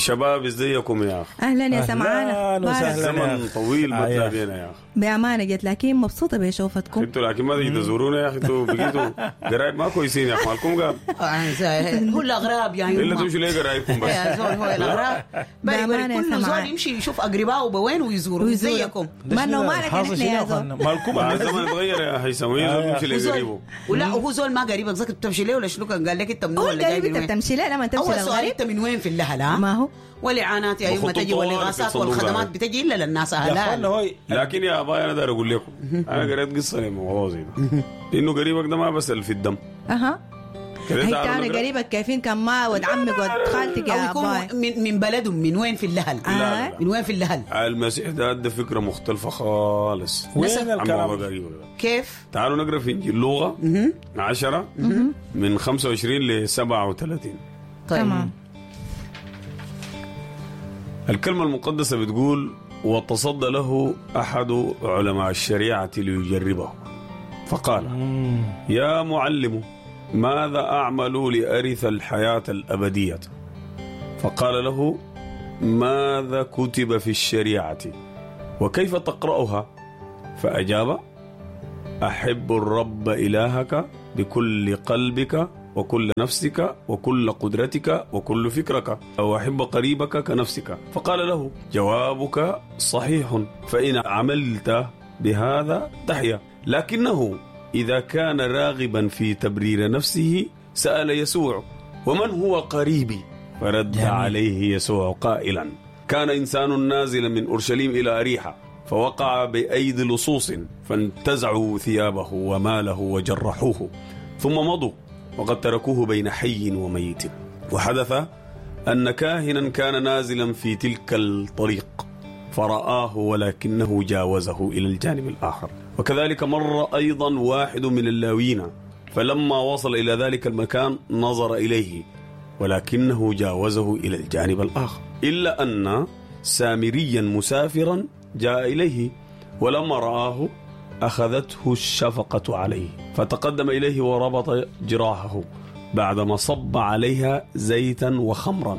شباب ازيكم يا اخي؟ اهلا يا سمعانه. أهلاً وسهلاً. زمن طويل ما يا تلاقينا يا اخي. بامانه جت، لكن مبسوطة بشوفتكم. انتوا لكن ما تيجي تزورونا يا اخي، انتوا بقيتوا قرايب ما كويسين يا اخي، مالكم قال هو الاغراب يا الا يما. تمشوا ليه قرايبكم بس. يا زول هو الاغراب بري بري بأمانة يا كل زول سمعان. يمشي يشوف اقربائه بوين ويزوره ويزوروا. زيكم. ما انه مالك حاصل نحن شنو يا يا زول. أخوانا؟ مالكم ما الزمن اتغير يا هيثم، وين زول يمشي هو زول- لقريبه؟ ولا هو زول ما قريبك ذاك بتمشي ليه ولا شنو؟ كان قال لك انت من هو وين ولا جاي القريب من انت وين؟ بتمشي ليه لما تمشي اول سؤال للغريب؟ انت من وين في اللهلا؟ ما هو والاعانات يا يما بخطوط تجي طوال في والاغاثات الصندوق والخدمات ده. بتجي الا للناس يا اخوانا اهلال. هو لكن يا اباي انا داير اقول لكم، انا قريت قصة لموضوع زي ده، انه قريبك ده ما بسال في الدم اها. كده هي تعالوا تاني نقرأ. قريبك كيفين كان ما ود عمك ود خالتك او يا يكون باي. من بلدهم، من وين في اللهل؟ لا، لا، لا. من وين في اللهل؟ المسيح ده ادى فكرة مختلفة خالص وين عن موضوع الكلام؟ قريبك ده. كيف؟ تعالوا نقرا في انجيل لوقا 10 من 25 ل 37. طيب. تمام. الكلمة المقدسة بتقول: وتصدى له أحد علماء الشريعة ليجربه فقال: يا معلم، ماذا أعمل لأرث الحياة الأبدية؟ فقال له: ماذا كتب في الشريعة وكيف تقرأها؟ فأجاب: أحب الرب إلهك بكل قلبك وكل نفسك وكل قدرتك وكل فكرك، وأحب قريبك كنفسك. فقال له: جوابك صحيح، فإن عملت بهذا تحيا. لكنه إذا كان راغبا في تبرير نفسه سأل يسوع: ومن هو قريبي؟ فرد عليه يسوع قائلا: كان إنسان نازلا من أورشليم إلى أريحة، فوقع بأيدي لصوص، فانتزعوا ثيابه وماله وجرحوه، ثم مضوا وقد تركوه بين حي وميت. وحدث أن كاهنا كان نازلا في تلك الطريق فرآه، ولكنه جاوزه إلى الجانب الآخر. وكذلك مر أيضا واحد من اللاويين، فلما وصل إلى ذلك المكان نظر إليه، ولكنه جاوزه إلى الجانب الآخر. إلا أن سامريا مسافرا جاء إليه، ولما رآه أخذته الشفقة عليه، فتقدم إليه وربط جراحه بعدما صب عليها زيتا وخمرا،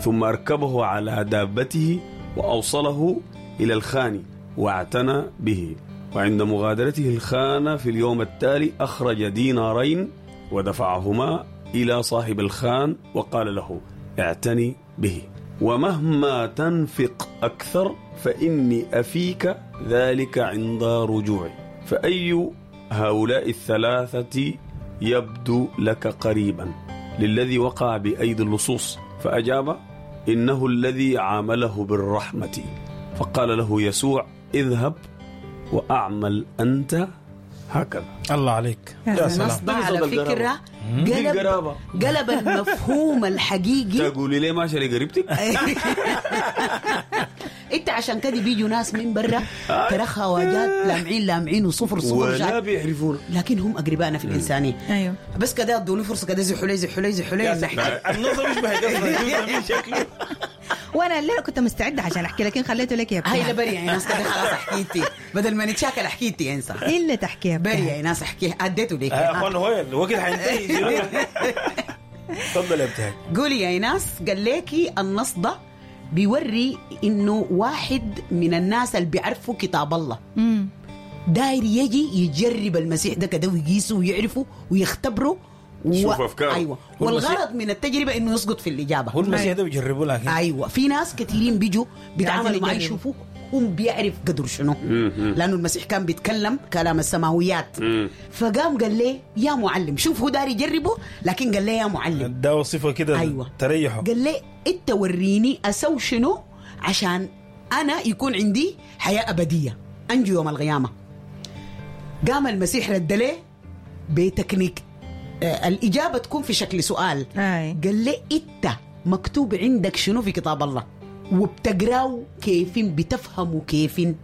ثم أركبه على دابته وأوصله إلى الخان واعتنى به. وعند مغادرته الخان في اليوم التالي أخرج دينارين ودفعهما إلى صاحب الخان وقال له: اعتني به، ومهما تنفق أكثر فإني أفيك ذلك عند رجوعي. فأي هؤلاء الثلاثة يبدو لك قريبا للذي وقع بأيدي اللصوص؟ فأجاب: إنه الذي عامله بالرحمة. فقال له يسوع: اذهب وأعمل أنت هكذا. الله عليك يا يا سلام. سلام. النص ده على دي قصة فكرة القرابة. دي قلب القرابة. قلب المفهوم الحقيقي. تقولي ليه ماشي لقريبتك؟ انت عشان كده بيجوا ناس من برا ترخها واجات لامعين لامعين وصفر صفر ولا جات. بيعرفونا. لكن هم اقربائنا في الانسانية. ايوه. بس كده ادوني فرصة كده، زحوا لي زحوا لي زحوا لي نحكي. النظر يشبه قصة شكله. وانا الليلة كنت مستعدة عشان احكي، لكن خليته لك يا هاي ابتهال. لا بري يا ناس كده خلاص حكيتي، بدل ما نتشاكل حكيتي يا انسان. الا تحكي يا بري ابتهال. يا ناس احكي، اديته لك. يا اخوان هو الوقت حينتهي. تفضل يا ابتهال. قولي يا ايناس. قال ليكي النص ده بيوري انه واحد من الناس اللي بيعرفوا كتاب الله داير يجي يجرب المسيح ده كده ويقيسه ويعرفه ويختبره يشوف أفكاره. ايوه، هو المسيح- والغرض من التجربة انه يسقط في الاجابة. هو المسيح ده بيجربوا لكن ايوه، في ناس كثيرين بيجوا بيتعاملوا عايزين معاه يجربوا. يشوفوا هم بيعرف قدر شنو، لانه المسيح كان بيتكلم كلام السماويات. فقام قال لي يا معلم، شوف هو داري يجربه لكن قال لي يا معلم. ده وصفه كده. ايوه. تريحه. قال لي انت وريني اسوي شنو عشان انا يكون عندي حياة ابدية انجو يوم القيامة. قام المسيح رد ليه بتكنيك، الاجابة تكون في شكل سؤال. أي. قال لي انت مكتوب عندك شنو في كتاب الله وبتقراه كيفين بتفهموا كيفين؟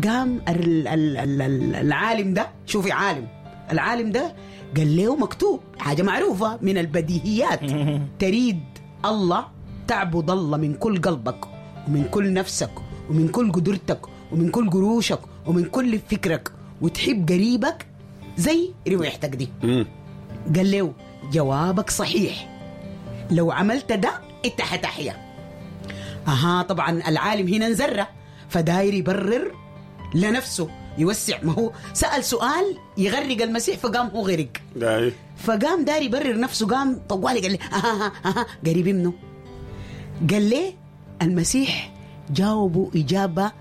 قام العالم ده، شوفي عالم، العالم ده قال له مكتوب حاجة معروفة من البديهيات، تريد الله تعبد الله من كل قلبك ومن كل نفسك ومن كل قدرتك ومن كل قروشك ومن كل فكرك، وتحب قريبك زي ريحتك دي. قال له جوابك صحيح، لو عملت ده انت حتحيا. اها طبعا العالم هنا انزرة، فداير يبرر لنفسه، يوسع. ما هو سأل سؤال يغرق المسيح فقام هو غرق، فقام داير يبرر نفسه، قام طوالي قال لي اها اها قريبي منه. قال لي المسيح جاوبه إجابة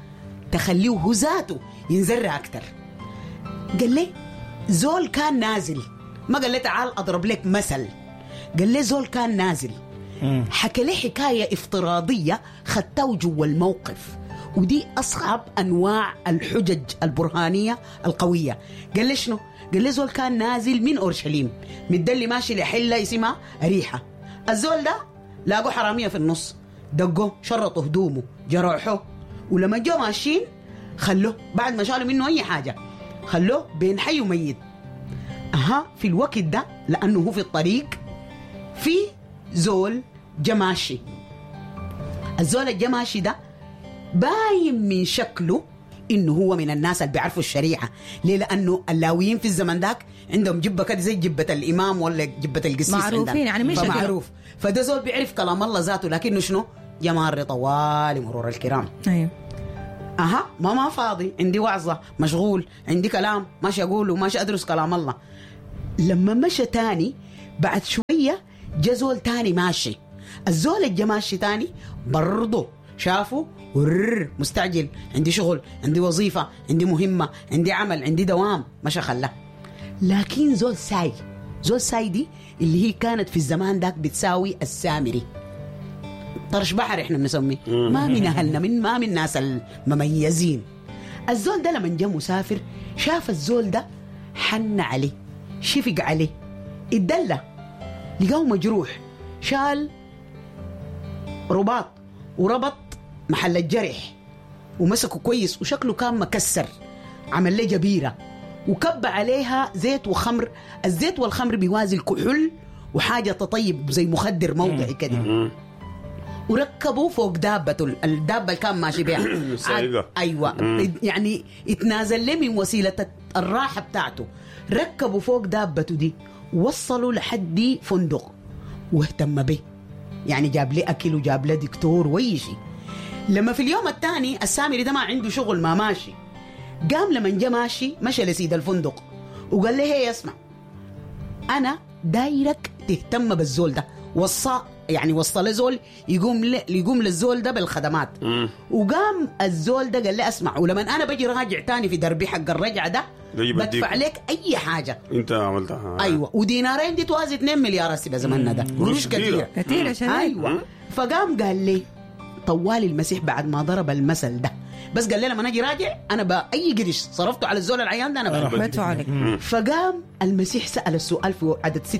تخليه هو ذاته ينزرع أكتر. قال لي زول كان نازل، ما قال لي تعال أضرب لك مثل، قال لي زول كان نازل، حكى لي حكاية افتراضية خدته جوا الموقف، ودي أصعب أنواع الحجج البرهانية القوية. قال لي شنو؟ قال لي زول كان نازل من أورشليم مدلي ماشي لحلة اسمها أريحة. الزول ده لاقوا حرامية في النص، دقوه، شرطوا هدومه، جرحوه، ولما جو ماشيين خلوه بعد ما شالوا منه أي حاجة خلوه بين حي وميت. أها في الوقت ده لأنه هو في الطريق في زول جماشي. الزول الجماشي ده باين من شكله إنه هو من الناس اللي بيعرفوا الشريعة. ليه؟ لأنه اللاويين في الزمن ذاك عندهم جبة كده زي جبة الإمام ولا جبة القسيس، معروفين يعني مش معروف. فده زول بيعرف كلام الله ذاته، لكنه شنو؟ جمار طوال مرور الكرام. أيوه. أها ما فاضي، عندي وعظة، مشغول، عندي كلام ماشي أقوله، ماشي أدرس كلام الله. لما مشى تاني بعد شوية جزول تاني ماشي. الزول الجماشي تاني برضه شافه مستعجل، عندي شغل، عندي وظيفة، عندي مهمة، عندي عمل، عندي دوام، مشى خلاه. لكن زول ساي، زول ساي دي اللي هي كانت في الزمان داك بتساوي السامري، طرش بحر احنا بنسميه، ما من اهلنا، من ما من الناس المميزين. الزول ده لما جاء مسافر شاف الزول ده، حن عليه، شفق عليه، اتدلى، لقاه مجروح، شال رباط وربط محل الجرح ومسكه كويس، وشكله كان مكسر، عمل له جبيرة وكب عليها زيت وخمر. الزيت والخمر بيوازي الكحول وحاجة تطيب زي مخدر موضعي كده. وركبوا فوق دابته، الدابة اللي كان ماشي بيها. أيوة. يعني اتنازل له من وسيلة الراحة بتاعته، ركبوا فوق دابته دي، وصلوا لحد فندق واهتم به، يعني جاب لي أكل وجاب لي دكتور وأي شيء. لما في اليوم الثاني السامري ده ما عنده شغل، ما ماشي، قام لما جا ماشي مشى لسيد الفندق وقال له هي اسمع، أنا دايرك تهتم بالزول ده، وصى يعني وصل زول يقوم للزول ده بالخدمات. وقام الزول ده قال لي اسمع، ولما انا بجي راجع تاني في دربي حق الرجعة ده بدفع لك اي حاجة انت عملتها. ايوه، ودينارين دي توازي 2 مليار هسه بزماننا ده، قروش كثيرة كثيرة. ايوه. فقام قال لي طوال المسيح بعد ما ضرب المثل ده، بس قال لي لما اجي راجع انا باي قرش صرفته على الزول العيان ده انا بدفع لك. فقام المسيح سال السؤال في عدد 36،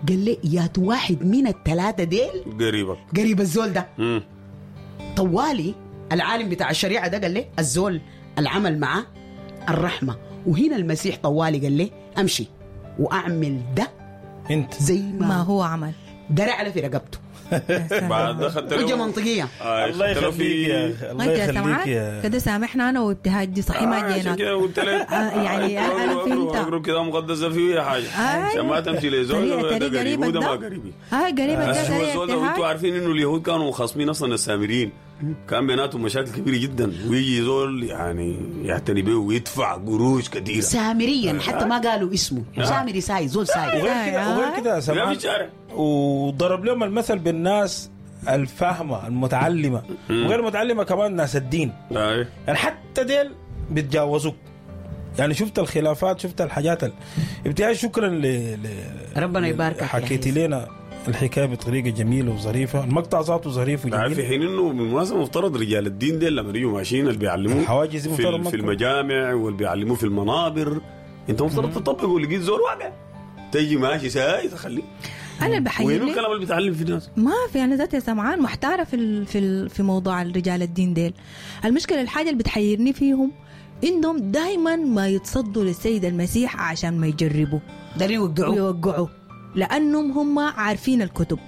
قال لي يا واحد من الثلاثة ديل قريبك، قريب الزول ده. طوالي العالم بتاع الشريعة ده قال لي الزول العمل معه الرحمة. وهنا المسيح طوالي قال لي أمشي وأعمل ده انت زي ما هو عمل، درع له في رقبته. بعد دخلت حجة منطقية. الله يخليك يا الله يخليك يا كده، سامحنا انا وابتهاج دي صحيح ما جينا يعني انا فهمت اقرب كده مقدسة فيه حاجة عشان ما تمشي لزول ده قريب وده ما قريبي. قريب ده الزول ده، وانتوا عارفين انه اليهود كانوا خصمين اصلا السامريين، كان بيناتهم مشاكل كبيرة جدا، ويجي زول يعني يعتني به ويدفع قروش كثيرة سامريا، حتى ما قالوا اسمه سامري ساي، زول ساي. وغير كده وضرب لهم المثل بالناس الفاهمة المتعلمة وغير المتعلمة كمان، ناس الدين يعني حتى ديل بيتجاوزوك. يعني شفت الخلافات، شفت الحاجات ابتهاج شكرا ربنا يباركك، حكيتي لنا الحكاية بطريقة جميلة وظريفه، المقطع ذاته ظريف وجميل. في حين انه بالمناسبة مفترض رجال الدين ديل لما يجوا ماشيين اللي بيعلموه الحواجز في المجامع واللي بيعلموه في المنابر، انت مفترض تطبقه. ولقيت زول واقع تيجي ماشي ساي تخليه. انا اللي بحيرني وين الكلام اللي بتعلم في الناس؟ ما في، انا ذاتي سمعان محتارة في موضوع الرجال الدين ديل. المشكلة الحاجة اللي بتحيرني فيهم انهم دائما ما يتصدوا للسيد المسيح عشان ما يجربوا، ده يوقعوا، لانهم هم عارفين الكتب.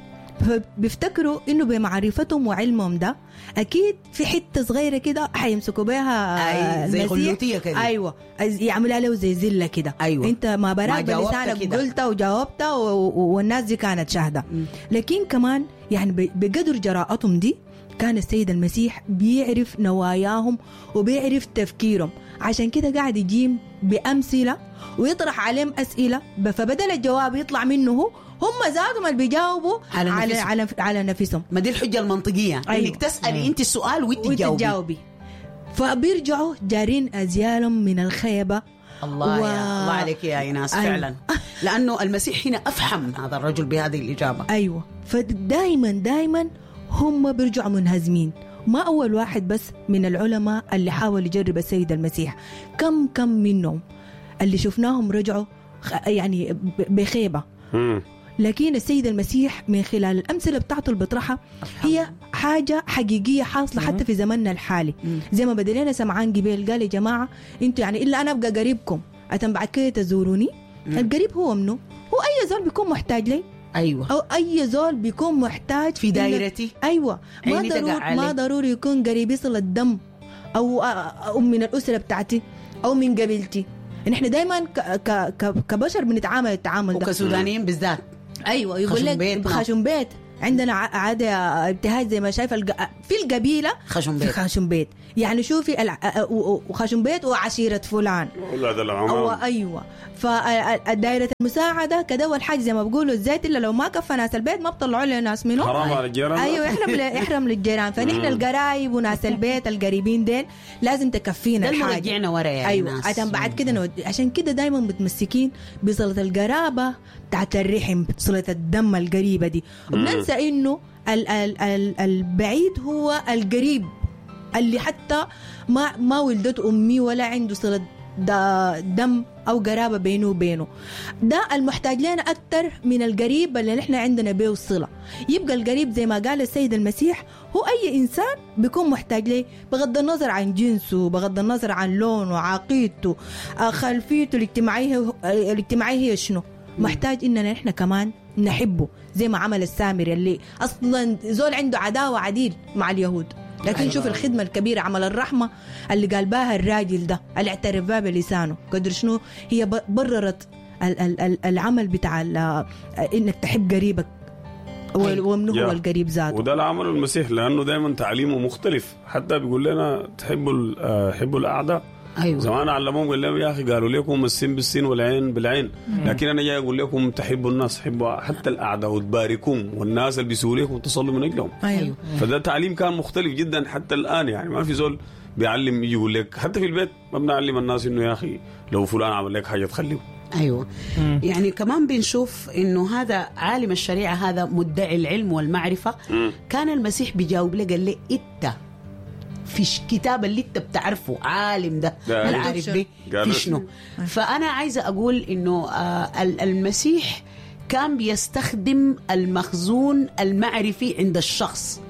فبيفتكروا انه بمعرفتهم وعلمهم ده اكيد في حتة صغيرة كده حيمسكوا بها أي زي غلوتيه كده. ايوه يعملها له زي زلة كده. أيوة. انت ما براك بلسانك قلت وجاوبت والناس دي كانت شاهده. لكن كمان يعني بقدر جراءتهم دي كان السيد المسيح بيعرف نواياهم وبيعرف تفكيرهم، عشان كده قاعد يجيب بأمثلة ويطرح عليهم أسئلة، فبدل الجواب يطلع منه هو هم ذاتهم اللي بيجاوبوا على على, على, على نفسهم. ما دي الحجة المنطقية. أيوة. إنك تسألي أنت السؤال وانت تجاوبي. فبيرجعوا جارين أزيالهم من الخيبة. الله يا الله عليك يا إيناس. أيوة. فعلا لأنه المسيح هنا أفهم هذا الرجل بهذه الإجابة. أيوة. فدايما دايما هم بيرجعوا منهزمين. ما أول واحد بس من العلماء اللي حاول يجرب السيد المسيح، كم منهم اللي شفناهم رجعوا يعني بخيبة. لكن السيد المسيح من خلال الأمثلة بتاعته اللي بيطرحها هي حاجة حقيقية حاصلة حتى في زمننا الحالي. زي ما بدلنا سمعان جبيل قال يا جماعة انتوا يعني إلا أنا أبقى قريبكم أتم بعد كده تزوروني. القريب هو منه؟ هو أي زول بيكون محتاج لي. أيوة. أو أي زول بيكون محتاج في دايرتي. أيوة. ما ضروري يكون قريبي صلة الدم أو من الأسرة بتاعتي أو من قبيلتي. نحن دايما كبشر بنتعامل التعامل ده، وكسودانيين بالذات. أيوة. يقول لك خشم بيت. عندنا عادة ابتهاج زي ما شايفة في القبيلة خشم بيت. خشم بيت يعني شوفي وخشم بيت وعشيرة فلان أو أيوة. فالدائرة المساعدة كده والحاجة زي ما بقولوا الزيت إلا لو ما كفى ناس البيت ما بطلعوا له ناس منه، حرام على الجيران. أيوة يحرم للجيران. فنحن القرايب وناس البيت القريبين ديل لازم تكفينا الحاجة. رجعنا ورا يا أيوة ناس. عشان بعد كده عشان كده دايما متمسكين بصلة القرابة بتاعت الرحم، صلة الدم القريبة دي، وبننسى إنه البعيد هو القريب اللي حتى ما ولدته أمي ولا عنده صلة دم أو قرابة بينه وبينه. ده المحتاج لنا أكتر من القريب اللي نحن عندنا بيه الصلة. يبقى القريب زي ما قال السيد المسيح هو أي إنسان بيكون محتاج ليه، بغض النظر عن جنسه، بغض النظر عن لونه، عقيدته، خلفيته الاجتماعية هي شنو. محتاج إننا نحن كمان نحبه زي ما عمل السامري اللي أصلا زول عنده عداوة عديل مع اليهود، لكن أيوة. شوف الخدمة الكبيرة، عمل الرحمة اللي قال بها الراجل ده اللي اعترف بها بلسانه، قدر شنو هي بررت العمل بتاع إنك تحب قريبك ومنه هو القريب ذاته. وده اللي عمله المسيح، لأنه دايما تعليمه مختلف، حتى بيقول لنا تحبوا الأعداء. أيوة. زمان علموهم قال لهم يا أخي قالوا لكم السين بالسين والعين بالعين، لكن أنا جاي أقول لكم تحبوا الناس، حبوا حتى الأعداء وتباركهم، والناس اللي بيسوا لكم تصلوا من أجلهم. أيوة. فده تعليم كان مختلف جدا حتى الآن، يعني ما في زول بيعلم يجي يقول لك حتى في البيت ما بنعلم الناس إنه يا أخي لو فلان عمل لك حاجة تخليه. أيوة. يعني كمان بنشوف إنه هذا عالم الشريعة، هذا مدعي العلم والمعرفة، كان المسيح بيجاوب له قال له إنت في كتاب اللي انت بتعرفه عالم ده العارف به في شنو. فأنا عايزة أقول إنه المسيح كان بيستخدم المخزون المعرفي عند الشخص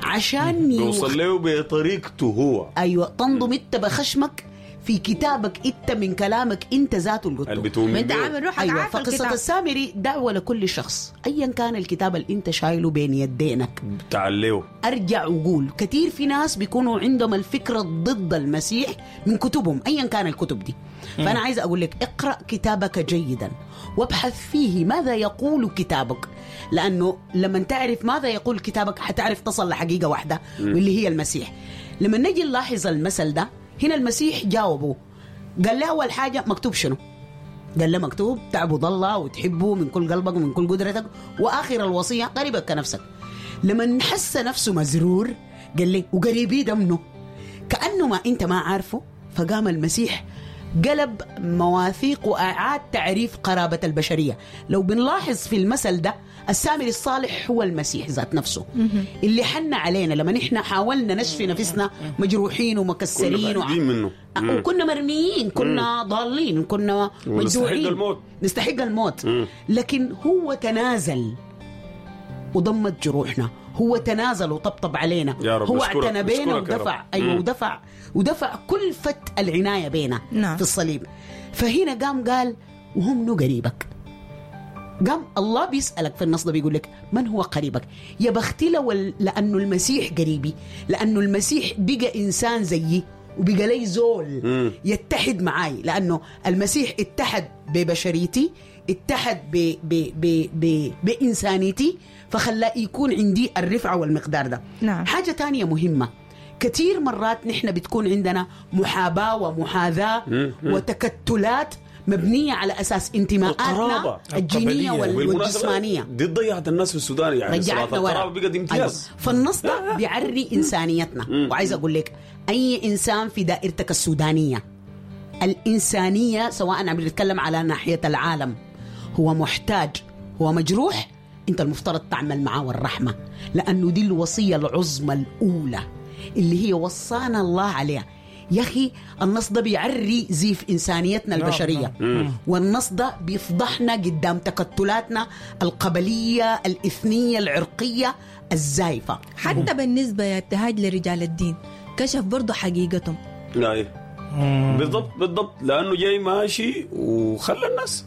عشان يوصل له بطريقته هو. أيوة. تنضم انت بخشمك في كتابك انت من كلامك انت ذاته اللي قلته انت عامل روحك. أيوة. فقصة السامري دعوة لكل شخص ايا كان الكتاب اللي انت شايله بين يدينك تعليه. ارجع وقول كثير في ناس بيكونوا عندهم الفكرة ضد المسيح من كتبهم ايا كان الكتب دي. فانا عايزة اقول لك اقرأ كتابك جيدا وابحث فيه ماذا يقول كتابك، لانه لما تعرف ماذا يقول كتابك حتعرف تصل لحقيقة واحدة واللي هي المسيح. لما نجي نلاحظ المثل ده هنا المسيح جاوبه قال له أول حاجة مكتوب شنو؟ قال له مكتوب تعبد الله وتحبه من كل قلبك ومن كل قدرتك، وآخر الوصية قريبك كنفسك. لما حس نفسه مزرور قال لي وقريبي ده منه؟ كأنه ما أنت ما عارفه. فقام المسيح قلب مواثيق وأعاد تعريف قرابة البشرية. لو بنلاحظ في المثل ده السامري الصالح هو المسيح ذات نفسه اللي حن علينا لما نحن حاولنا نشفي نفسنا مجروحين ومكسرين وكنا مرميين، كنا ضالين، كنا مجروحين، نستحق الموت. لكن هو تنازل وضمت جروحنا، هو تنازل وطبطب علينا، هو اعتنى بينا ودفع. أيوة ودفع كلفة العناية بينا. نعم. في الصليب. فهنا قام قال وهم نو قريبك. قام الله بيسألك في النص ده، بيقول لك من هو قريبك؟ يا بختي لو لأنه المسيح قريبي، لأنه المسيح بقى إنسان زيي وبقى لي زول يتحد معاي، لأنه المسيح اتحد ببشريتي، اتحد ب ب ب ب بإنسانيتي، فخلى يكون عندي الرفعة والمقدار ده. نعم. حاجة تانية مهمة، كثير مرات نحن بتكون عندنا محاباة ومحاذاة وتكتلات مبنية على أساس انتماءاتنا الجينية والجسمانية. دي ضيعت الناس في السودان، يعني صلاة القرابة بقت امتياز. أيوة. فالنص ده بيعري إنسانيتنا. وعايز أقول لك أي إنسان في دائرتك السودانية الإنسانية، سواء عم بنتكلم على ناحية العالم، هو محتاج، هو مجروح، أنت المفترض تعمل معه الرحمة، لأنه دي الوصية العظمى الأولى اللي هي وصانا الله عليها. يا أخي النص ده بيعري زيف إنسانيتنا البشرية. والنص ده بيفضحنا قدام تكتلاتنا القبلية الإثنية العرقية الزايفة. حتى بالنسبة يا ابتهاج لرجال الدين كشف برضو حقيقتهم. بالضبط بالضبط، لأنه جاي ماشي وخلى الناس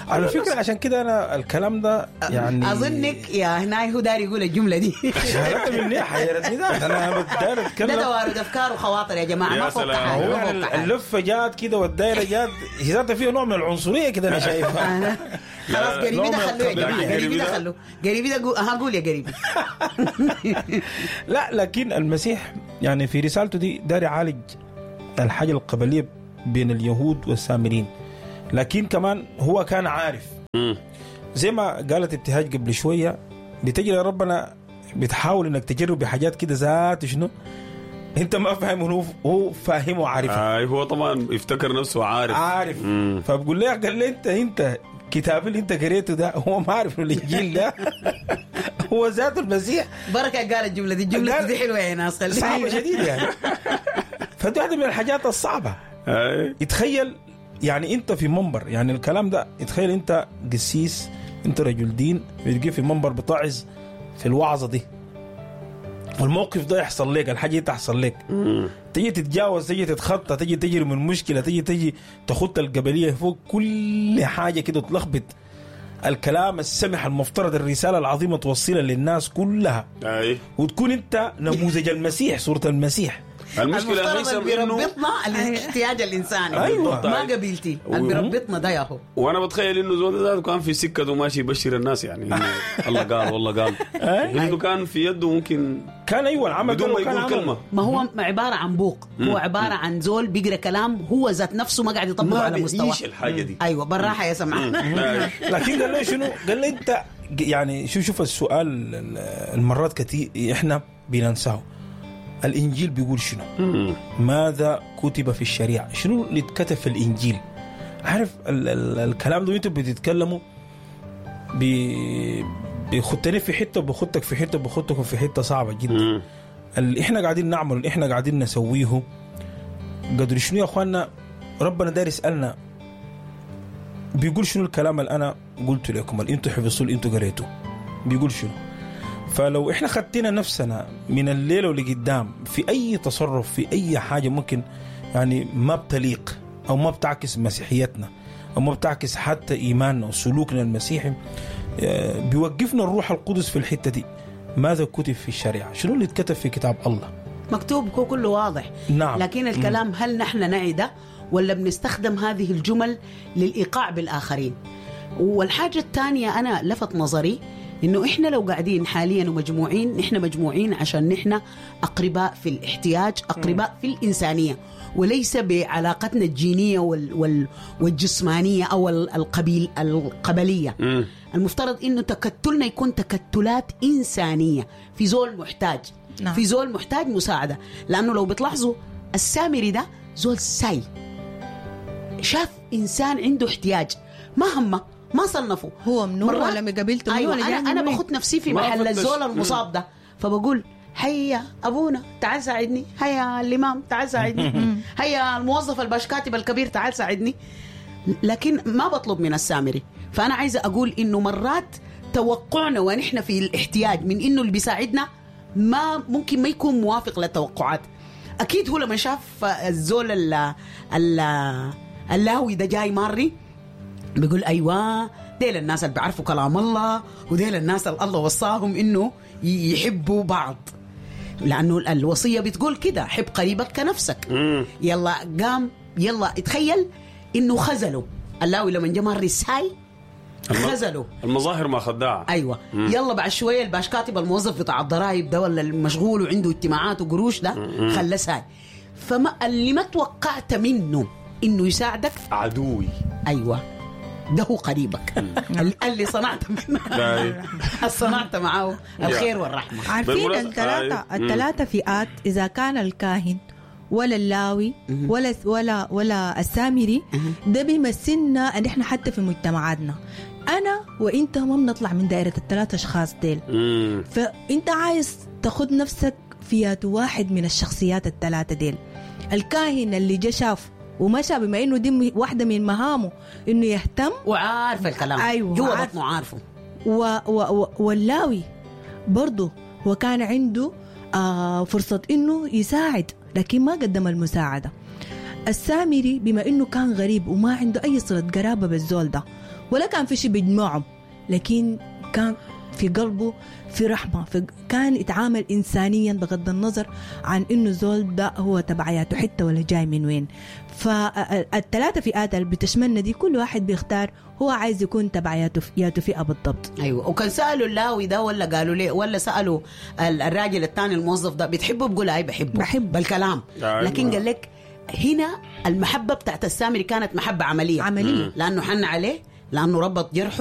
على فكرة. عشان كده أنا الكلام ده يعني أظنك يا هناي هو داري يقول الجملة دي. حيرتني مني، حيرتني ده أنا داير أتكلم. ده توارد أفكار وخواطر يا جماعة، ما فوق حاجة. اللفة جات كده والدايرة جات، هي ذاتها فيها نوع من العنصرية كده أنا شايفها. خلاص قريبي ده خلوه يا جماعة، قريبي ده خلوه، قريبي ده ها قول يا قريبي. لا لكن المسيح يعني في رسالته دي داري يعالج الحاجة القبلية بين اليهود والسامريين، لكن كمان هو كان عارف زي ما قالت ابتهاج قبل شوية، بتجري ربنا بتحاول انك تجرب بحاجات كده ذات شنو انت ما فاهم، هو فاهم وعارف. هو طبعا يفتكر نفسه عارف. فبقول له قال لي انت كتاب اللي انت قريته ده هو ما عارف انه الانجيل ده هو ذات المسيح. بركة قال الجملة دي، الجملة دي حلوة يا ناس، صعبة شديد يعني. فدي واحدة من الحاجات الصعبة. يتخيل يعني انت في منبر، يعني الكلام ده، تخيل انت قسيس، انت رجل دين، بتجي في منبر بتعظ في الوعظة دي، والموقف ده يحصل لك، الحاجة دي تحصل لك، تيجي تتجاوز، تيجي تتخطى، تيجي تجري من مشكلة، تيجي تخط القبلية فوق كل حاجة كده، تلخبط الكلام السمح المفترض الرسالة العظيمة توصلها للناس كلها. وتكون انت نموذج المسيح، صوره المسيح. المشكلة ليس بيربطنا الاحتياج الانساني. أيوة. ما قبيلتي اللي بيربطنا ده ياهو. وانا بتخيل انه زول ذاته كان في سكته ماشي يبشر الناس، يعني الله قال والله قال، انه كان في يده ممكن كان ايوه العمل بدون ما يقول كلمة. ما هو عبارة عن بوق، هو عبارة عن زول بيقرا كلام هو ذات نفسه ما قاعد يطبقه على مستوى. ما الحاجة دي. ايوه بالراحة يا سمعان. لكن قال له شنو؟ قال له انت يعني شوف السؤال المرات كثير احنا بننساه. الإنجيل بيقول شنو؟ ماذا كتب في الشريعة؟ شنو اللي اتكتب في الإنجيل؟ عارف ال ال الكلام ده انتوا بتتكلموا بيخدني في حتة، بخدك في حتة، بخدكم في حتة صعبة جدا. اللي احنا قاعدين نعمله، اللي احنا قاعدين نسويه، قدر شنو يا اخواننا؟ ربنا داير يسألنا بيقول شنو الكلام اللي انا قلته لكم، اللي انتوا حفظتوه، اللي انتوا قريتوه، بيقول شنو؟ فلو احنا خدتنا نفسنا من الليلة واللي قدام في اي تصرف، في اي حاجة ممكن يعني ما بتليق او ما بتعكس مسيحيتنا او ما بتعكس حتى ايماننا وسلوكنا المسيحي، بيوقفنا الروح القدس في الحتة دي. ماذا كتب في الشريعة؟ شنو اللي اتكتب في كتاب الله؟ مكتوب كله واضح. نعم. لكن الكلام هل نحن نعده ولا بنستخدم هذه الجمل للإيقاع بالآخرين؟ والحاجة الثانية أنا لفت نظري إنه إحنا لو قاعدين حاليا ومجموعين، نحن مجموعين عشان نحن أقرباء في الاحتياج، أقرباء في الإنسانية، وليس بعلاقتنا الجينية والجسمانية أو القبلية. المفترض إنه تكتلنا يكون تكتلات إنسانية، في زول محتاج. نعم. في زول محتاج مساعدة، لأنه لو بتلاحظوا السامري ده زول ساي، شاف إنسان عنده احتياج، ما همه، ما صنفه هو منو ولا مقابلته. أيوة، أنا بخط نفسي في محل الزول المصاب ده، فبقول هيا أبونا تعال ساعدني، هيا الإمام تعال ساعدني، هيا الموظف الباشكاتب الكبير تعال ساعدني، لكن ما بطلب من السامري. فأنا عايزة أقول إنه مرات توقعنا ونحن في الاحتياج من إنه اللي بيساعدنا ما ممكن ما يكون موافق للتوقعات. أكيد هو لما شاف الزول اللاوي ده جاي ماري بيقول أيوة ديل الناس اللي بيعرفوا كلام الله، وديل الناس اللي الله وصاهم انه يحبوا بعض، لانه الوصية بتقول كده، حب قريبك كنفسك. يلا قام، يلا اتخيل انه خذله اللاوي لما جه مر ساي خذله. المظاهر ما خداعة. ايوه. يلا بعد شوية الباش كاتب الموظف بتاع الضرايب ده ولا المشغول وعنده اجتماعات وقروش ده خلاه ساي. فما اللي ما توقعت منه انه يساعدك عدوي. ايوه، ده هو قريبك اللي صنعت منه، صنعت معه الخير والرحمة. عارفين الثلاثة فئات، اذا كان الكاهن ولا اللاوي ولا ولا ولا السامري، ده بيمثلنا ان احنا حتى في مجتمعاتنا انا وانت ما بنطلع من دائرة الثلاث اشخاص ديل. فانت عايز تاخد نفسك في واحد من الشخصيات الثلاثة ديل. الكاهن اللي جا شاف ومشى، بما انه دي واحدة من مهامه انه يهتم وعارف الكلام، ايوه جوا بطنه عارفه. واللاوي برضه هو كان عنده فرصة انه يساعد لكن ما قدم المساعدة. السامري بما انه كان غريب وما عنده اي صله قرابة بالزول ده ولا كان في شيء بيجمعهم، لكن كان في قلبه في رحمة، كان يتعامل إنسانيا بغض النظر عن إنه زول ده هو تبعياته حتة ولا جاي من وين. فالثلاثة فئات اللي بتشملنا دي كل واحد بيختار هو عايز يكون تبعياته ياته فئة بالضبط. أيوة. وكان سألوا اللاوي ده ولا قالوا ليه، ولا سألوا الراجل الثاني الموظف ده بتحبه، بقول أي بحبه، بحب بالكلام. لكن قال لك هنا المحبة بتاعت السامري كانت محبة عملية، عملية، لأنه حن عليه، لأنه ربط جرحه.